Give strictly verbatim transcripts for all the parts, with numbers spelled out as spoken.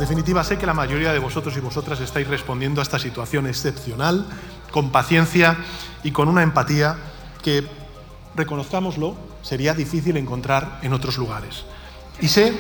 definitiva, sé que la mayoría de vosotros y vosotras estáis respondiendo a esta situación excepcional con paciencia y con una empatía que, reconozcámoslo, sería difícil encontrar en otros lugares. Y sé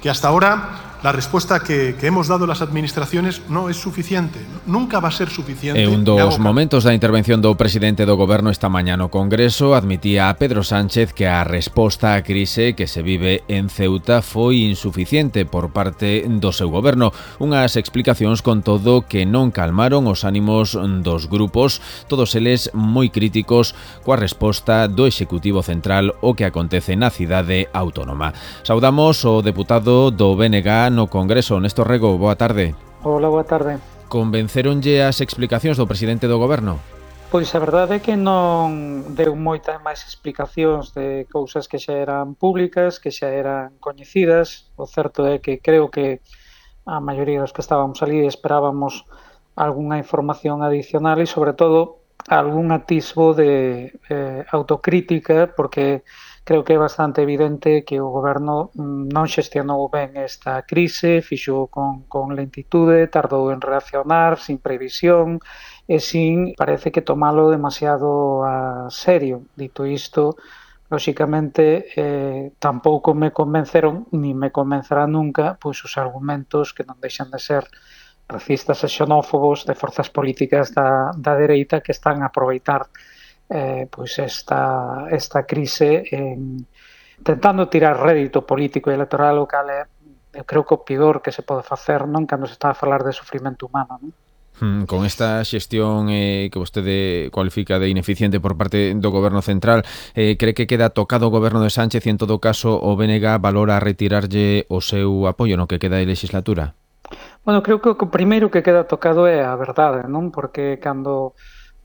que hasta ahora la respuesta que, que hemos dado las administraciones no es suficiente, nunca va a ser suficiente. E un dos momentos da intervención do presidente do Goberno esta mañá no Congreso admitía a Pedro Sánchez que a resposta á crise que se vive en Ceuta foi insuficiente por parte do seu Goberno. Unhas explicacións, con todo, que non calmaron os ánimos dos grupos, todos eles moi críticos coa resposta do Executivo Central o que acontece na cidade autónoma. Saudamos o deputado do B N G no Congreso, Néstor Rego, boa tarde. Hola, boa tarde. Convenceronlle as explicacións do presidente do Goberno? Pois a verdade é que non deu moitas máis explicacións de cousas que xa eran públicas, que xa eran coñecidas. O certo é que creo que a maioría dos que estábamos ali esperábamos algunha información adicional e, sobre todo, algún atisbo de eh, autocrítica, porque creo que é bastante evidente que o Goberno non xestionou ben esta crise, fixo con, con lentitude, tardou en reaccionar, sin previsión e sin, parece que tomalo demasiado a serio. Dito isto, lóxicamente, eh, tampouco me convenceron, ni me convencerán nunca, pois os argumentos que non deixan de ser racistas e xenófobos de forzas políticas da, da dereita que están a aproveitar Eh, pois esta, esta crise en, tentando tirar rédito político e electoral, o cal é, eu creo que o pior que se pode facer, non, cando se está a falar de sufrimento humano, non? Hmm, con esta xestión eh, que vostede cualifica de ineficiente por parte do Goberno Central, eh, cree que queda tocado o Goberno de Sánchez e, en todo caso, o B N G valora retirarlle o seu apoio no que queda de legislatura? Bueno, creo que o primeiro que queda tocado é a verdade, non? Porque cando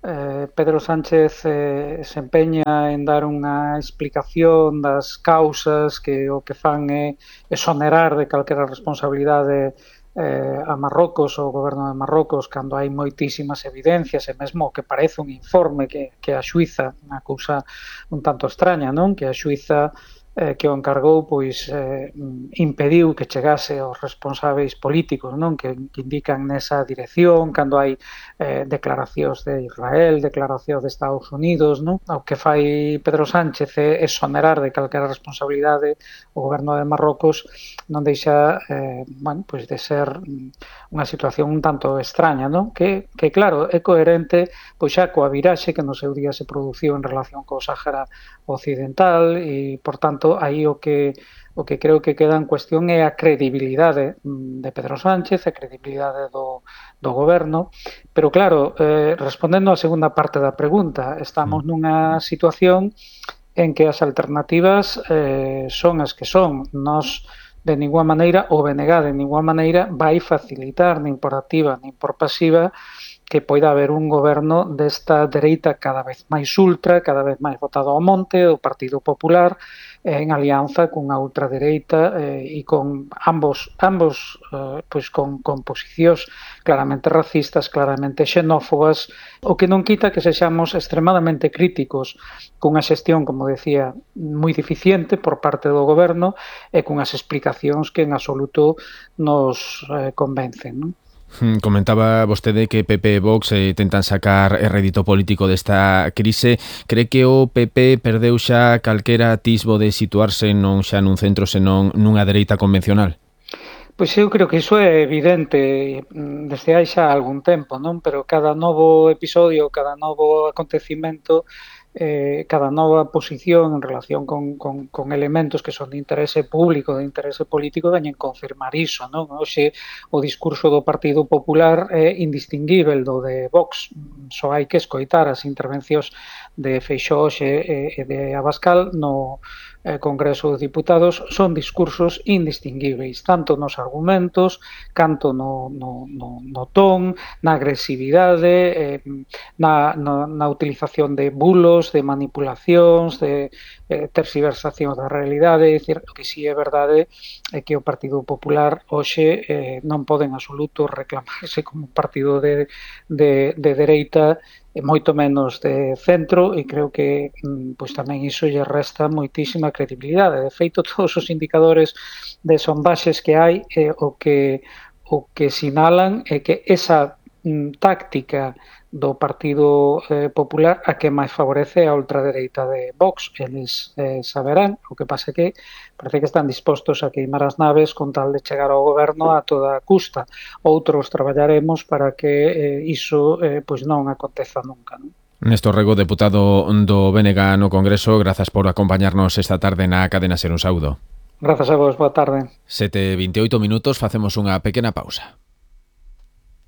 Eh, Pedro Sánchez eh, se empeña en dar unha explicación das causas que o que fan é exonerar de calquera responsabilidade eh, a Marrocos ou o goberno de Marrocos, cando hai moitísimas evidencias e mesmo que parece un informe que, que a Xuiza, unha cousa un tanto extraña, non? Que a Xuiza eh, que o encargou, pois eh, impediu que chegase aos responsáveis políticos, non? Que, que indican nesa dirección, cando hai eh, declaracións de Israel, declaracións de Estados Unidos, non? O que fai Pedro Sánchez é exonerar de calquera responsabilidade o goberno de Marrocos, non deixa eh, bueno, pois de ser unha situación un tanto extraña, non? Que, que claro, é coherente pois xa coa viraxe que no seu día se produciu en relación co Sáhara Occidental e, por tanto, aí o que o que creo que queda en cuestión é a credibilidade de Pedro Sánchez, a credibilidade do, do goberno, pero claro, eh, respondendo á segunda parte da pregunta, estamos nunha situación en que as alternativas eh, son as que son. Nos, de ninguna maneira, o B N G de ninguna maneira vai facilitar, nin por activa, nin por pasiva, que poida haber un goberno desta dereita cada vez máis ultra, cada vez máis votado ao monte, o Partido Popular, en alianza cunha ultradereita eh, e con ambos, ambos eh, pois con, con posicións claramente racistas, claramente xenófobas, o que non quita que sexamos extremadamente críticos cunha xestión, como decía, moi deficiente por parte do goberno e cunhas explicacións que en absoluto nos eh, convencen, non? Comentaba vostede que P P e Vox eh, tentan sacar rédito político desta crise. Cree que o P P perdeu xa calquera atisbo de situarse non xa nun centro senón nunha dereita convencional? Pois eu creo que iso é evidente desde hai xa algún tempo, non? Pero cada novo episodio, cada novo acontecimento, eh, cada nova posición en relación con, con, con elementos que son de interese público, de interese político, veñen confirmar iso, non? Hoxe o discurso do Partido Popular é indistinguível do de Vox, só hai que escoitar as intervencións de Feixóo e, e de Abascal no eh, Congreso dos Diputados, son discursos indistinguíveis, tanto nos argumentos, canto no, no, no, no ton, na agresividade, eh, na, na, na utilización de bulos, de manipulacións, de eh, tersiversacións da realidade. É dicir, o que si é verdade é que o Partido Popular hoxe eh, non pode en absoluto reclamarse como un partido de, de, de dereita, moito menos de centro, e creo que pois tamén iso lle resta moitísima credibilidade. De feito, todos os indicadores de sondaxes que hai, eh, o que o que sinalan é que esa mm, táctica do Partido eh, Popular a que máis favorece a ultradereita de Vox. Eles eh, saberán, o que pasa que parece que están dispostos a queimar as naves con tal de chegar ao goberno a toda custa. Outros traballaremos para que eh, iso eh, pois non aconteza nunca, non? Néstor Rego, deputado do B N G no Congreso, grazas por acompañarnos esta tarde na Cadena Ser. Un saúdo. Grazas a vos, boa tarde. sete e veintioito minutos, facemos unha pequena pausa.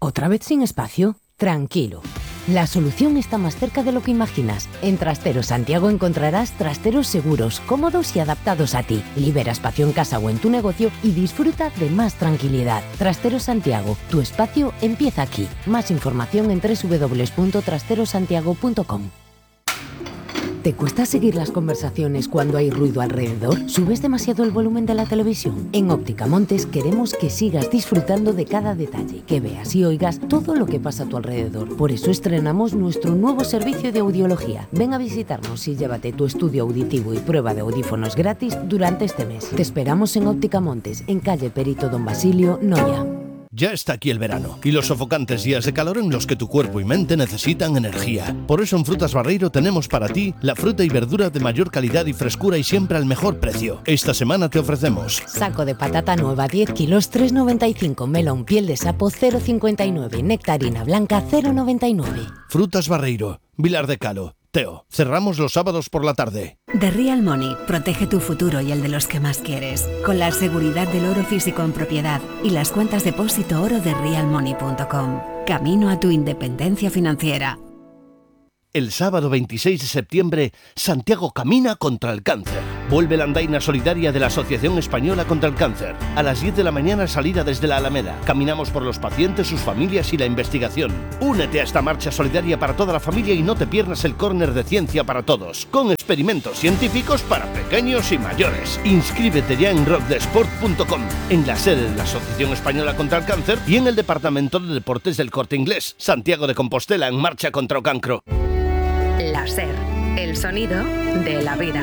¿Otra vez sin espacio? Tranquilo. La solución está más cerca de lo que imaginas. En Trasteros Santiago encontrarás trasteros seguros, cómodos y adaptados a ti. Libera espacio en casa o en tu negocio y disfruta de más tranquilidad. Trasteros Santiago, tu espacio empieza aquí. Más información en doble u doble u doble u punto trasteros santiago punto com. ¿Te cuesta seguir las conversaciones cuando hay ruido alrededor? ¿Subes demasiado el volumen de la televisión? En Óptica Montes queremos que sigas disfrutando de cada detalle, que veas y oigas todo lo que pasa a tu alrededor. Por eso estrenamos nuestro nuevo servicio de audiología. Ven a visitarnos y llévate tu estudio auditivo y prueba de audífonos gratis durante este mes. Te esperamos en Óptica Montes, en calle Perito Don Basilio, Noya. Ya está aquí el verano y los sofocantes días de calor en los que tu cuerpo y mente necesitan energía. Por eso en Frutas Barreiro tenemos para ti la fruta y verdura de mayor calidad y frescura y siempre al mejor precio. Esta semana te ofrecemos saco de patata nueva diez kilos tres noventa y cinco, melón piel de sapo cero cincuenta y nueve, nectarina blanca cero noventa y nueve. Frutas Barreiro, Vilar de Calo. Teo, cerramos los sábados por la tarde. The Real Money protege tu futuro y el de los que más quieres, con la seguridad del oro físico en propiedad y las cuentas depósito oro de real money punto com. Camino a tu independencia financiera. El sábado veintiséis de septiembre, Santiago camina contra el cáncer. Vuelve la andaina solidaria de la Asociación Española contra el Cáncer. A las diez de la mañana salida desde la Alameda. Caminamos por los pacientes, sus familias y la investigación. Únete a esta marcha solidaria para toda la familia y no te pierdas el córner de Ciencia para Todos, con experimentos científicos para pequeños y mayores. Inscríbete ya en rock de sport punto com, en la sede de la Asociación Española contra el Cáncer y en el Departamento de Deportes del Corte Inglés. Santiago de Compostela en marcha contra o cancro. La Ser, el sonido de la vida.